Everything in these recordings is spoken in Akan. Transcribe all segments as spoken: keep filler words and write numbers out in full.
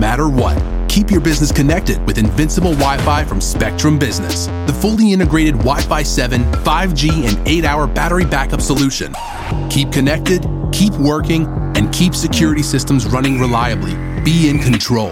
Matter what. Keep your business connected with Invincible Wi Fi from Spectrum Business, the fully integrated Wi Fi seven, five G, and eight hour battery backup solution. Keep connected, keep working, and keep security systems running reliably. Be in control.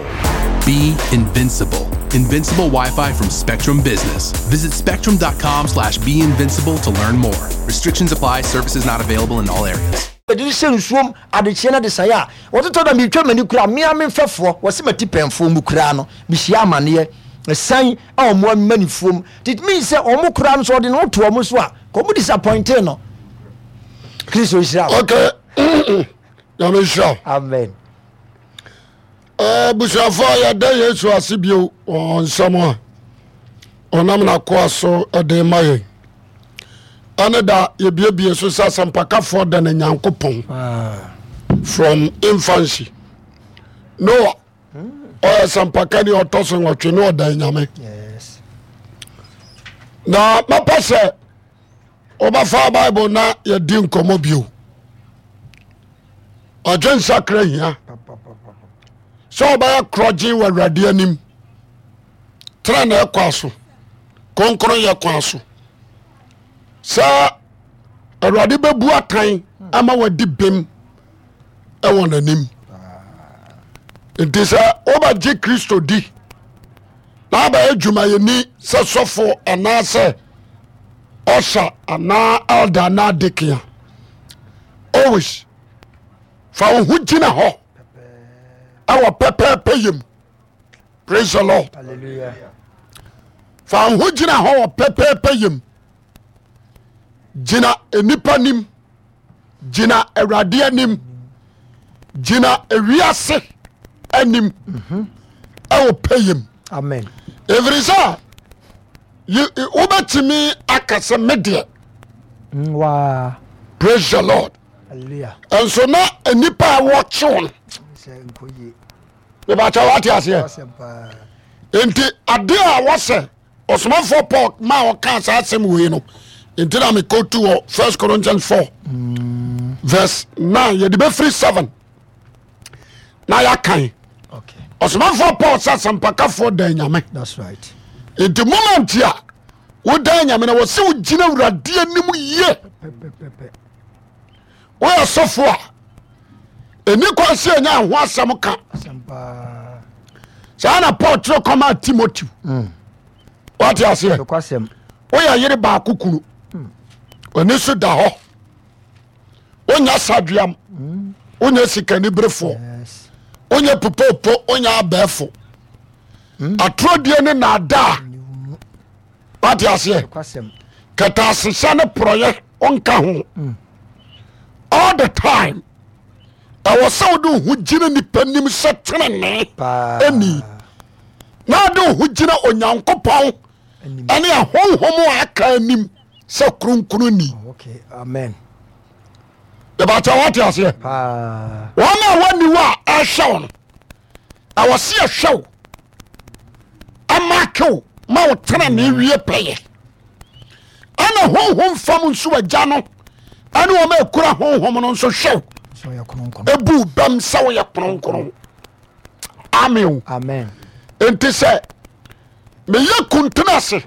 Be invincible. Invincible Wi Fi from Spectrum Business. Visit spectrum dot com slash be invincible to learn more. Restrictions apply, services not available in all areas. Ɛde hyɛ nsuom adekyeɛ no de saeɛ a wɔtotɔ da metwa m'ani kura mmea me mfɛfoɔ wɔse mati pɛnfoɔ mu koraa no, mehyia amanneɛ ɛsan a ɔmo amanifoɔ mu. It means sɛ ɔmo koraa no so ɔde ne ho to ɔmo so a ka ɔmo disappointe no. Kristo nhyira wo. Ok, Nyame nhyira wo. Amen. Abusuafoɔ, yɛda Yesu ase bio wɔ nsɛm a ɔnam n'akoa so de ma yɛn. Ɛne da yɛbiebie so sɛ asɛmpakafoɔ da no Nyankopɔn from infancy. Noa ɔyɛ sɛmpaka ni ɔtɔ so nwɔtwe ne ɔda Nyame. Yes na mɛpɛ sɛ wobɛfa Bible na yɛdi nkɔmmɔ bio. Ɔdwe nsakra hia sɛ wobɛyɛ korɔgye wɔ Awurade anim, tena na ɛkwa so, kronkron yɛ kwan so sɛ Awurade bɛbu atan ama wadi bem ɛwɔ n'anim. Nti sɛ wobɛgye Kristo di na abɛyɛ dwumayɛni sɛ sɔfo anaasɛ ɔsa anaa elder anaa deacon a, always fa wo ho gyina hɔ ɛwɔ pɛpɛɛpɛ yam. Praise the Lord. Hallelujah. Fa wo ho gyina hɔ wɔ pɛpɛɛpɛ yam. Gyina nnipa nim, gyina Awurade anim, gyina ewiase anim ɛwɔ pɛ yam. Amen. Ɛfiri sɛ wobɛtumi aka sɛ me deɛ Mm, waa. Praise the Lord. Hallelujah. Nso na nnipa a wɔkyew no sɛ nkɔ yie. Mebakyɛ wate aseɛ? Asɛm paa. Nti adeɛ a wɔsɛ ɔsomafoɔ Paul ma ɔka saa asɛm wei no nti na mekɔtu wɔ First Corinthians four verse nine, yɛde bɛfiri seven na yɛakan. Okay ɔsomafoɔ Paul sɛ asɛmpakafoɔ dan Nyame. That's right. Nti moment a wodan Nyame no, wɔ sɛ wogyina Awurade anim yie. Pɛpɛpɛpɛ. Woyɛ sɔfo a, ɛni kwan sɛ ɛnya ho asɛm ka. Asɛm paa. Saa na Paul twerɛ kɔma Timoteo. Wate aseɛ? Nokwasɛm. Woyɛ yere baako kunu, ɔni so da hɔ, wonyɛ sadweam, wonyɛ sikaniberefoɔ, yes wonyɛ popopo, wonyɛ abɛɛfo, atorɔdie ne naadaa. Wate aseɛ? Nokwasɛm. Kɛtɛasehyɛ ne porɔyɛ ɔnka ho. All the time ɛwɔ sɛ wode wo ho gyina nipa nim sɛ tenene paa ɛni na wode wo ho gyina Onyankopɔn anim ɛne ahonhom a aka anim sɛ kronkronni. Oh, okay, amen. Ɛbɛkyɛ wate aseɛ? Paa. Wɔn a wɔnni hɔ a ɛhwɛ wo no, ɛwɔ sɛ yɛhwɛ wo ɛmaake wo ma wo tena ne wie pɛyɛ. Ɛna honhom fam nso, agya no ɛne wɔn a ɛkura honhom no nso hwɛ wo sɛ ɔyɛ kronkron, ebu bɛm sɛ woyɛ kronkron. Amen o. Amen. Nti sɛ meyɛ kuntene ase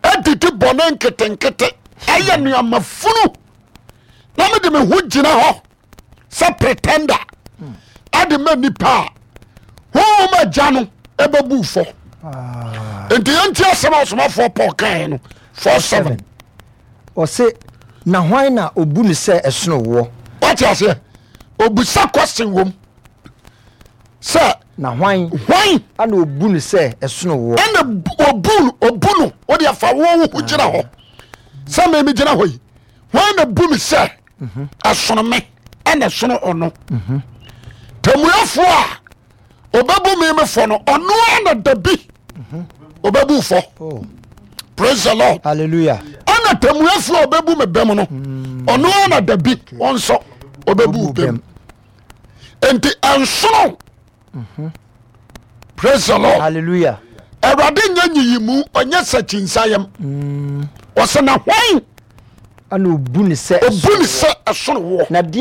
adidi bɔne nketenkete, ɛyɛ nneɛma funu, na mede me ho gyina hɔ sɛ pretender ade ma nipa a, honhom agya no ɛbɛbu fɔ. Paa. Nti yɛnti asɛm a ɔsomafoɔ Paul kaeɛ no four seven. Ɔse, na hwan na obu no sɛ ɛsono woɔ? Wate aseɛ? Obusa question wom sɛ na hwan hwan ana obu no sɛ ɛsono woɔ? Ɛna bu- obu no obu no wode afa wo wo ho gyina hɔ sɛ me megyina hɔ yi, hwan na bu me sɛ ɛsono me ɛna ɛsono ɔno tamuafoɔ a ɔbɛbu me me fɔ no, ɔno a na dabi ɔbɛbu fɔ. Oh. Praise the Lord. Hallelujah. Ɛna tamuafoɔ a ɔbɛbu me bɛm no, ɔno a na dabi ɔnsɔ ɔbɛbu bɛm. Nti ɛnsono. Praise the Lord. Hallelujah. Awurade nyɛ nyiyimu, ɔnyɛ sɛkyinsayɛm. Ɔsɛ na hwan ana obu no sɛ obu ne sɛ ɛsono woɔ? Na deɛ